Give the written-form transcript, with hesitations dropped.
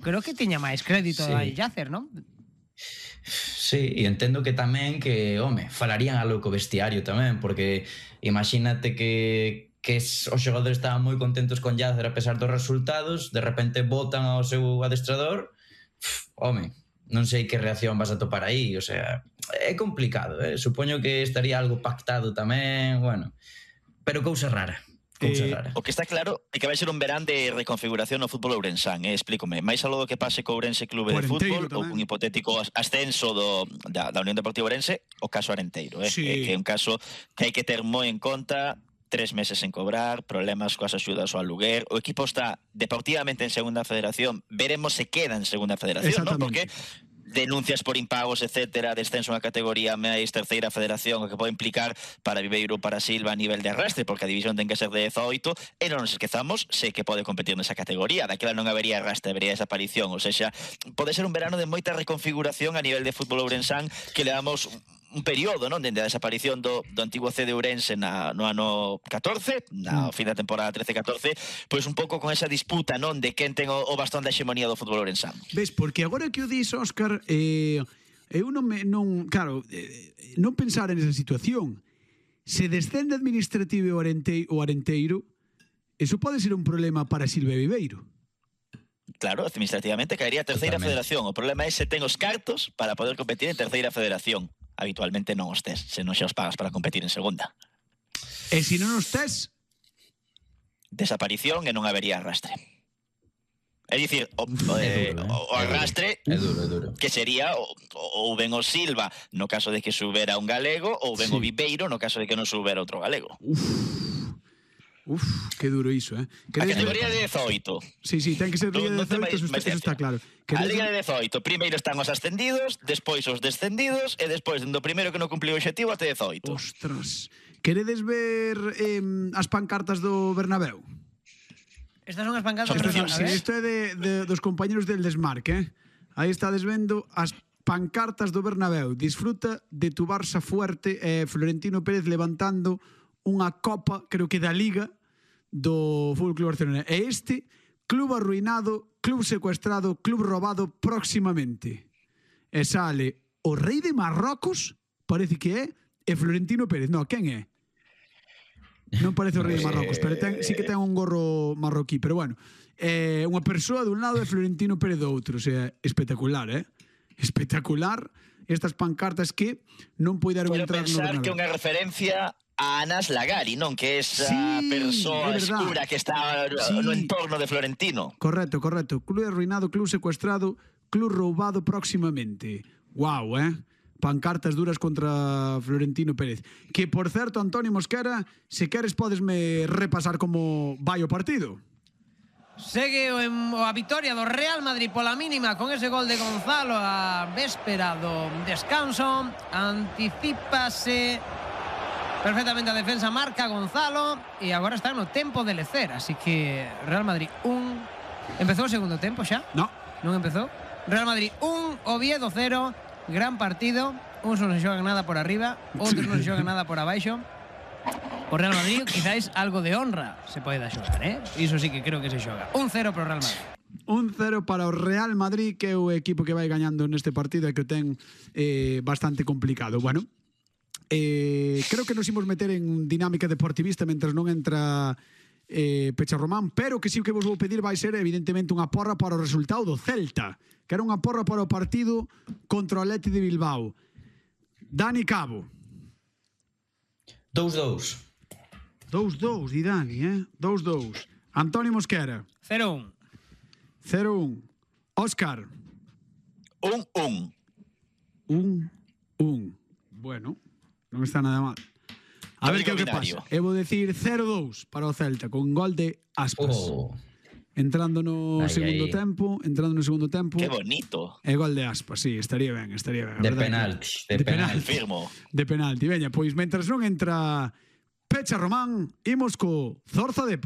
creo que tiña máis crédito Sí. aí Yacer, non? Sí, e entendo que tamén que, falarían algo co vestiario tamén, porque imagínate que os xogadores estaban moi contentos con Yacer a pesar dos resultados, de repente botan ao seu adestrador, non sei que reacción vas a topar aí, o sea, é complicado, supoño que estaría algo pactado tamén, bueno, pero cousa rara. O que está claro é que vai ser un verán de reconfiguración no fútbol ourensán, explícome, máis algo do que pase co Ourense Clube de Fútbol ou un hipotético ascenso da Unión Deportiva Ourense, o caso Arenteiro, Sí. Que é un caso que hai que ter moi en conta, 3 meses en cobrar, problemas coas axudas ao aluguer, o equipo está deportivamente en segunda federación, veremos se queda en segunda federación, ¿no? Porque denuncias por impagos, etcétera, descenso na categoría máis terceira federación, o que pode implicar para Viveiro, para Silva a nivel de arrastre, porque a división ten que ser de 18, e non nos esquezamos, sei que pode competir nesa categoría, daquela non habería arrastre, habería desaparición, ou seja, pode ser un verano de moita reconfiguración a nivel de fútbol ourensán, que le damos un período, non, dende a desaparición do antigo C de Ourense no ano 14, na fin da temporada 13-14, pois un pouco con esa disputa, non, de quen ten o bastón da hexemonía do fútbol ourensán. Ves, porque agora que o dis, Óscar, eu non pensar en esa situación. Se descende administrativo o Arenteiro, eso pode ser un problema para Silva Viveiro. Claro, administrativamente caería a terceira federación. O problema é se ten os cartos para poder competir en terceira federación. Habitualmente non os tes, se non xa os pagas para competir en segunda. E se non os tes? Desaparición e non habería arrastre. É dicir, o arrastre é duro. Que sería ou ben o Silva no caso de que subera un galego, ou ben o Viveiro no caso de que non subera outro galego. Uf, que duro iso, A categoría de 18. Sí, ten que ser Liga de 18, eso está claro. A Liga de 18, primeiro están os ascendidos, despois os descendidos, e despois do primeiro que non cumpliu o obxectivo até 18. Ostras, queredes ver as pancartas do Bernabéu? Estas son as pancartas do Bernabéu. Sí, isto é dos compañeros del Desmarque, Aí estades vendo as pancartas do Bernabéu. Disfruta de tu Barça fuerte, Florentino Pérez levantando unha copa, creo que da Liga, do Fútbol Club Barcelona. E este, club arruinado, club secuestrado, club robado próximamente. E sale o rei de Marrocos, parece que é, e Florentino Pérez. No, quen é? Non parece o rei de Marrocos, pero sí que ten un gorro marroquí. Pero bueno, unha persoa dun lado e Florentino Pérez do outro. O sea, espectacular, espectacular estas pancartas que non poideron entrar no Bernabéu. Quero pensar que unha referencia a Anas Lagari, non? Que é esa persoa escura que está no entorno de Florentino. Correcto. Club arruinado, club secuestrado, club roubado próximamente. Guau, pancartas duras contra Florentino Pérez. Que, por certo, Antonio Mosquera, se queres podesme repasar como vai o partido. Segue a vitoria do Real Madrid pola mínima con ese gol de Gonzalo a véspera do descanso. Anticípase perfectamente a defensa, marca Gonzalo e agora está no tempo de lecer, así que Real Madrid 1. Empezou o segundo tempo xa? Non empezou. Real Madrid 1, Oviedo 0. Gran partido. Uns non se xogan nada por arriba, outros non se xogan nada por abaixo. O Real Madrid, quizáis algo de honra se pode xogar, Iso sí que creo que se xoga. 1-0 para o Real Madrid. 1-0 para o Real Madrid, que é o equipo que vai gañando neste partido e que o ten bastante complicado. Bueno, creo que nos imos meter en dinámica deportivista mentre non entra Pecha Román, pero que sí que vos vou pedir vai ser evidentemente unha porra para o resultado do Celta, que era unha porra para o partido contra o Athletic de Bilbao. Dani Cabo. 2-2. 2-2, di Dani, 2-2. Antonio Mosquera. 0-1. 0-1. Óscar. 1-1. 1-1. Bueno, non está nada mal. A ver que pasa. Eu vou decir 0-2 para o Celta con gol de Aspas. Entrando no segundo tempo, Que bonito. E gol de Aspas, sí, estaría ben. De penalti. Firmo. De penalti. Veña, pois mentras non entra Pecha Román, imos co Zorza Depo.